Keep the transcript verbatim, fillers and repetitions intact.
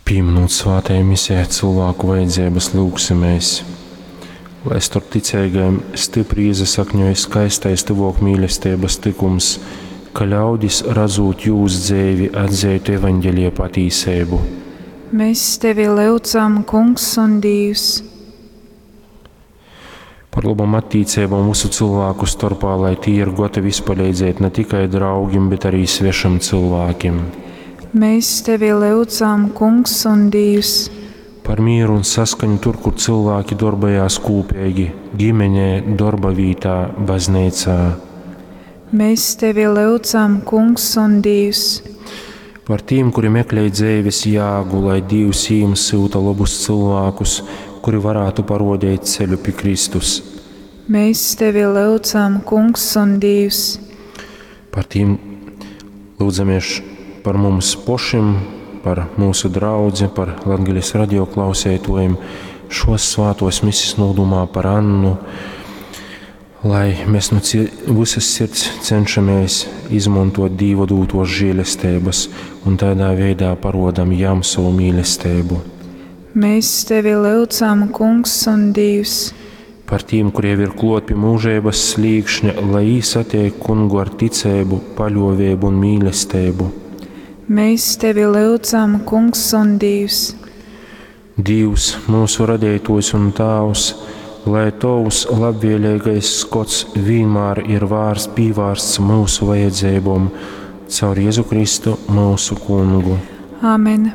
Pīminūt svātajā misē cilvēku vajadzības, lyugsimēs, lai storp ticeigajim stipri iesasakņoj skaistais tyvōkmīlesteibas tykums, ka ļaudis, radzūt jūs dzeivi, atzeitu evaņģelija patīseibu. Mēs tevi lyudzam, Kungs un Dīvs. Par lobom attīceibom vysu cilvēku storpā, lai tī ir gatavi izpaleidzēt ne tikai draugim, bet arī svešim cilvēkim. Mēs tevi lyudzam, Kungs un Dīvs. Par mieru un saskaņu tur, kur cilvēki darbojās kūpīgi – ģimenē, darba vītā, baznīcā. Mēs tevi lyudzam, Kungs un Dīvs. Par tīm, kuri meklē dzeives jāgu, lai Dīvs jīm syuta labus cilvēkus, kuri varētu parodēt ceļu pie Kristus. Mēs tevi lyudzam, Kungs un Dīvs. Par tīm lūdzamies par mums pošim, par mūsu draudzi, par Latgales radio klausētojiem, šos svātos misis nūdumā par Annu, lai mēs no visas sirds cenšamies izmantot Dīva dūtos žēlestības un tādā veidā parodam jam savu mīlestību. Mēs tevi lyudzam, Kungs un Dīvs. Par tiem, kuriem ir klot pie mūžības slīkšņa, lai īsatiek kungu ar ticēbu, paļovēbu un mīlestību. Mēs tevi lyudzam, Kungs un Dīvs. Dīvs, mūsu radītājs un Tāvs, lai Tavs labvēlīgais skots vienmēr ir vārsts, pīvārsts mūsu vajadzībām, caur Jēzu Kristu mūsu kungu. Āmen.